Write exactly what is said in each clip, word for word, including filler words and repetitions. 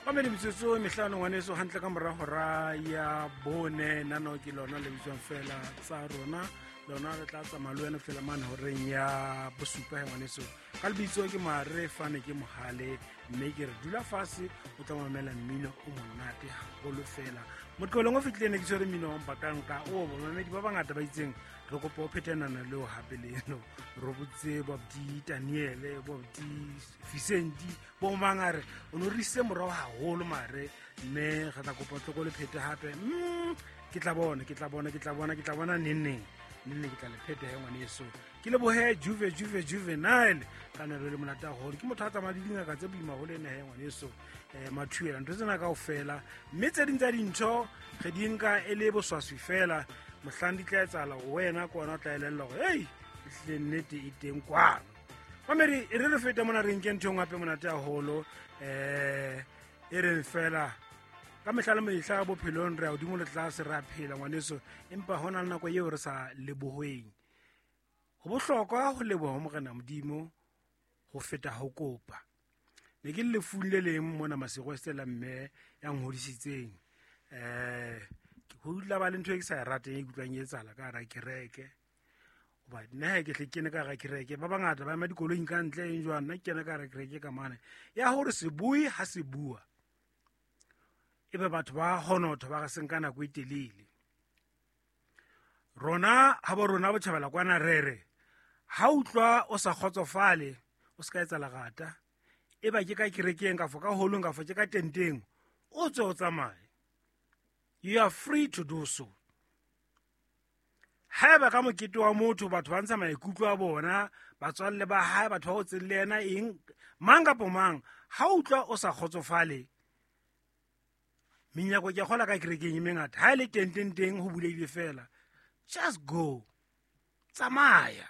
Mamedi metsotso e mehlano ngwaneso hantle ka mora hora ya bone nano ke lona le bitswang fela tsa rona lona re tla tsamaya le wena fela mane horeng ya bosupa he ngwaneso ka lebitso ke mare fane ke mohale mme ke re dula fatshe o tla mamela mmino o monate haholo fela motlolong o fitlhileng ne ke tshwere mmino wa mpakanka o bamamedi ba bangata ba itseng re kopa o phetenana leo hape leno re botse bobdi daniele bobdi vicenti bo mang a re o no re isitse morao haholo mare mme re tla kopa tloko le phete hape mm, ke tla bona ke tla bona ke tla bona ke tla bona neng neng neng neng ke tla le phete he ngwaneso ke lebohe juve juve juvenile ka nelo le monate haholo ke motho a tsamaya le dingaka tse boima haholo ene he ngwaneso um mathuela ntho tsena kao fela mme tse ding tsa dintho re di nka e le boswaswi fela mohlang di tla etsahala go wena ke ona o tla elella gore ei ehlile nnete e teng kwano mamedi e re re fete mona re nke ntho e nngwe hape monate haholo um e reng fela ka mehla le mehla bophelong re ya godimo le tlase re a phela ngwaneso empa ho na le nako eo re sa lebohweng ho bohlokwa ho leboha ho morena modimo ho feta ho kopa ne ke le lefung le leng mona masego estela mme ya ngodisitseng um ho dula ba le ntho e ke sa e rateng e kutlwang e etsahala ka hara kereke hoba nna he ke hle ke kene ka hara kereke ba bangata ba ema dikoloing ka ntle eng jwang nna ke kene ka hara kereke ka mane ya hore sebui ha se bua ebe batho ba honotha ba re seng ka nako e telele rona ha bo rona botjhabela kwana re re ha utlwa o sa kgotsofale o se ka etsa lerata e ba ke ka kerekeng kafo ka holong kafo ke ka tenteng o tswe o tsamaye you are free to do so haeba ka mokete wa motho batho ba ntsha maikutlo a bona batswalle ba hae batho ba hotseng le yena eng mang kapo mang ha utlwa o sa kgotsofale menyako ke kgola ka kerekeng e mengata ha e le tenteng teng ho bulehile fela just go tsamaya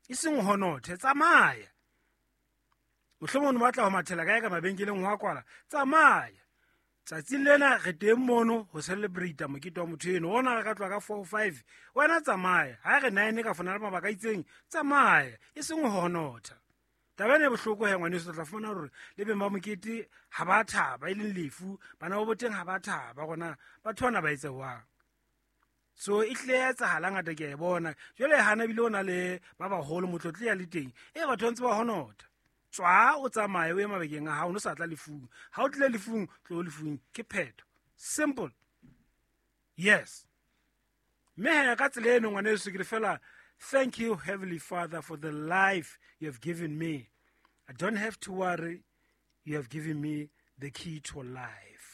e seng honothe tsamaya mohlomong o batla ho mathela kae ka mabenkeleng ho a kwala tsamaya tsatsing lena re teng mono ho celebrate mokete wa motho eno ona re ka tloha ka four five wena tsamaya ha re nine ka fona le mabaka a itseng tsamaya e seng ho honotha taba ena e bohloko he ngwaneso o tla fumana hore le beng ba mokete ha ba thaba e leng lefu bana ba boteng ha ba thaba gona batho bana ba etse jwang so e hlile ya etsahala ngata ke a e bona jwale hana ebile o na le ba baholo motlotlo ya le teng e batho ba ntse ba honotha tswa o tsamaye o ye mabakeng a hao no sa tla lefung ha o tlile lefung tlo lefung ke phetho simple yes mme he ka tsela eno ngwaneso ke re fela thank you heavenly father for the life you have given me i don't have to worry you have given me the key to life